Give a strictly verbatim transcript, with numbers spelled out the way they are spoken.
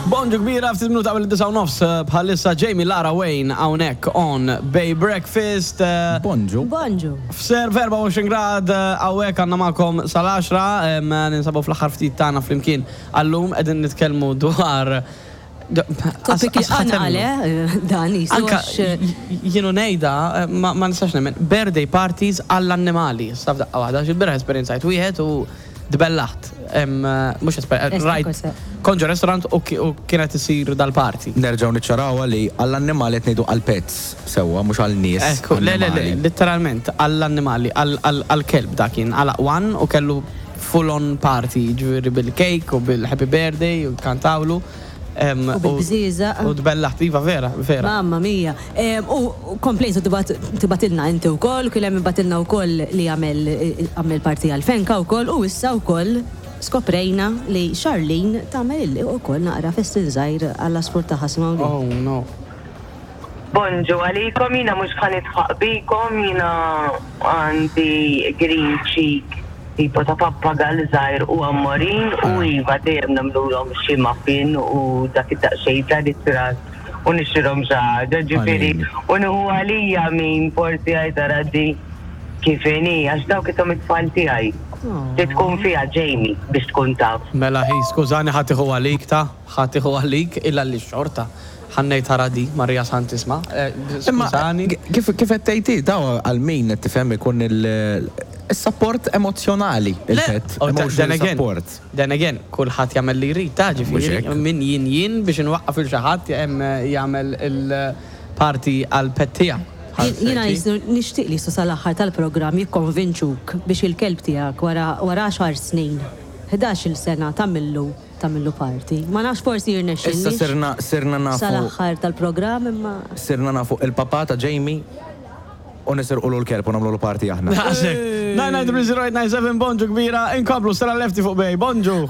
Bonġu kbira, ftit minuta qabel id-disgħa u nofs eh, bħalissa Jamie Lara Wayne hawnhekk on Bay Breakfast. eh, Bonġu. Bonġu. F'ser erbgħa u għoxrin grad eh, hawnhekk għandna magħkom sal-għaxra, em, ninsabu fl-aħħar ftit tagħna flimkien. Għallum qegħdin nitkellmu dwar Topic għanqale, eh, dan jisu. Anka għax, jienu nejda, eh, ma ma nistax nemmen, birthday parties għall-annimali. Saf daqqa waħda, xi esperjenzajt wieħed u dbellaħt. Em, eh, Mhux Esta rajt. Cosa. Kont ġo restaurant u ki- u kienet isir dal-party. Nerġgħu niċċarawha li għall-annimali qed ngħidu għall-pets sewwa, mhux għall-nies. Ekku, le, le, le, annimali. literalment, għall-annimali, għall-kelb da kien, għal one u kellu full on party, ġifieri bil-cake u bil-happy birthday u kantawlu. Em, U bil-bżieżaq. U dbellaħt, iva, vera, vera. Mamma mia. Em, U komplejtu tibgħatilna inti u koll, kien hemm bagħtilna u koll li għamel għamel party għal-fenka u koll, u issa u koll skoprejna li Charlene tagħmel u koll naqra festin żgħir għall-għasfur tagħha simgħu. Oh no. Bonġu għalikom, jiena mhux ħa nidħaq bikom, jiena għandi green cheek tipo ta' pappagal żgħir u ammorin u iva dejjem nagħmluhom xi muffin u dak id-daqsxejn ta' ritrat u nixtrilhom xi ħaġa, ġifieri Għalini. u nieħu għalija min forsi għajta di kif inhi, għax dawk ithom it-tfal tiegħi. Li tkun fiha Jamie biex tkun taf. Mela hi, skużani, ħa tieħu għalik ta' ħa tieħu għalik illa li xorta. Ħa ngħid ħara di, Marija Santisma. Eh, Imma Skużani. kif kif qed tgħid daw għal min qed tifhem ikun il-support emozjonali il-pet. Oh, then Emotional again, support. then again, kulħadd jagħmel li jrid, ta' Mhux ġifieri, hekk. min jien jien biex inwaqqaf il xi ħadd jagħmel il-party għal pet tiegħu. Jiena jisu nixtieq li sal-aħħar tal-programm jikkonvinċuk biex il-kelb tiegħek wara wara għaxar snin, ħdax-il sena tagħmillu tagħmillu party. Ma nafx forsi jirnexxilniex. Issa sirna sirna nafu Sal-aħħar tal-programm imma sirna nafu il-papa ta' Jamie u nisirqulu l-kelb u nagħmlu party aħna. nine nine three zero eight nine seven, bonġu kbira, inkomplu Stella Lefty fuq Bay, bonġu.